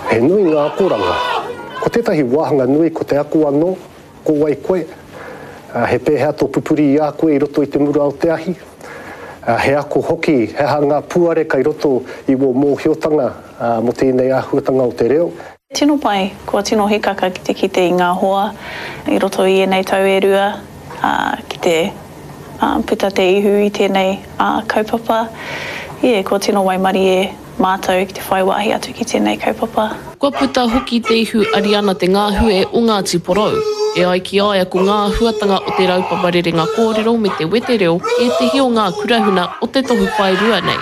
He nui ngā akoranga. Ko tētahi wāhanga nui ko te ako anō, ko wai koe, he pēhea tō pupuri i a koe i roto i te mura o te ahi, he ako hoki he aha ngā puare kai roto i wō mōhiotanga mō tēnei āhuatanga o te reo. Tino pai, kua tino hikaka ki te kite i ngā hoa i roto i ēnei tau e rua, ki te puta te ihu i tēnei kaupapa. Ie, kua tino waimarie mātou ki te whai wāhi atu ki tēnei kaupapa. Kua puta hoki te ihu Ariana Te Ngahue o Ngāti Porou. E ai ki a ia ko ngā āhuatanga o te raupapa rerenga kōrero me te wetereo ētehi o ngā kurahuna o te tohu paerua nei.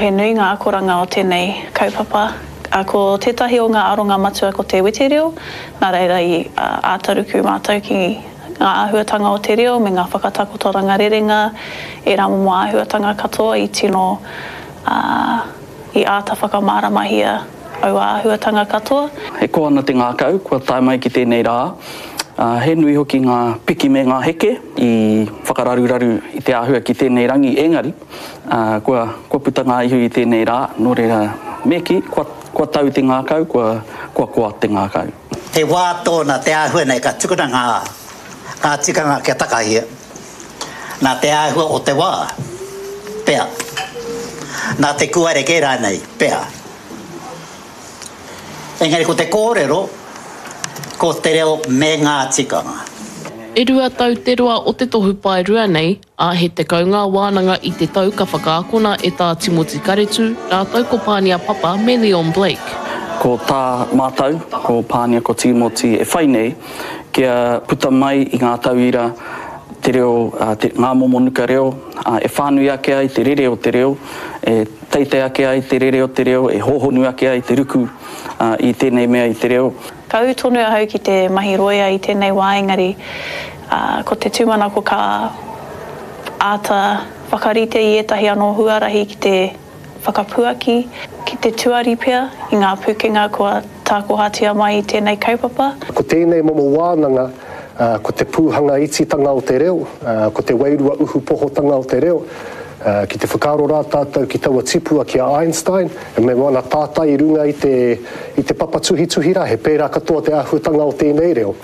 He nui ngā akoranga o tēnei kaupapa. Ko tētahi o ngā aronga matua ko te wetereo, nā reira i āta ruku mātou ki ngā āhuatanga o te reo me ngā whakatakotoranga rerenga, ērā momo āhuatanga katoa i tino i āta whakamāramahia aua āhuatanga katoa. E koa ana te ngākau kua tae mai ki tēnei rā. He nui hoki ngā piki me ngā heke i whakararuraru i te āhua ki tēnei rangi engari kua kua puta ngā ihu i tēnei rā, nō reira me kī, kua kua tau te ngākau, kua kua koa te ngākau. He wā tōna te āhua nei ka tukuna ngā ngā tikanga kia takahia. Nā te āhua o te wā, pea. Nā te kūare kē rānei, pea. Engari ko te kōrero, ko te reo me ngā tikanga. E rua tau te roa o te tohu paerua nei, ā, he 10 ngā wānanga i te tau ka whakaakona e Tā Timoti Karetu rātou ko Pānia Papa me Leon Blake. Ko tā mātou, ko Pānia ko Tīmoti e whai nei, kia puta mai i ngā tauira te reo, te, ngā momo nuka reo, e whānui ake ai te rere o te reo, e teitei ake ai te rere o te reo, e hōhonu ake ai te ruku i tēnei mea i te reo. Ka ū tonu ahau ki te mahi rōia i tēnei wā engari ko te tūmanako ka āta whakarite i ētahi anō huarahi ki te whakapuaki, ki te tuari pea i ngā pūkenga kua tākohatia mai i tēnei kaupapa. Ko tēnei momo wānanga, ko te pūhanga ititanga o te reo, ko te wairua uhupohotanga o te reo. Ki te whakaaro rā tātou ki taua tipua ki a Einstein, me wana tātai i runga i te i te papa tuhituhi rā, he pērā katoa te āhuatanga o tēnei reo.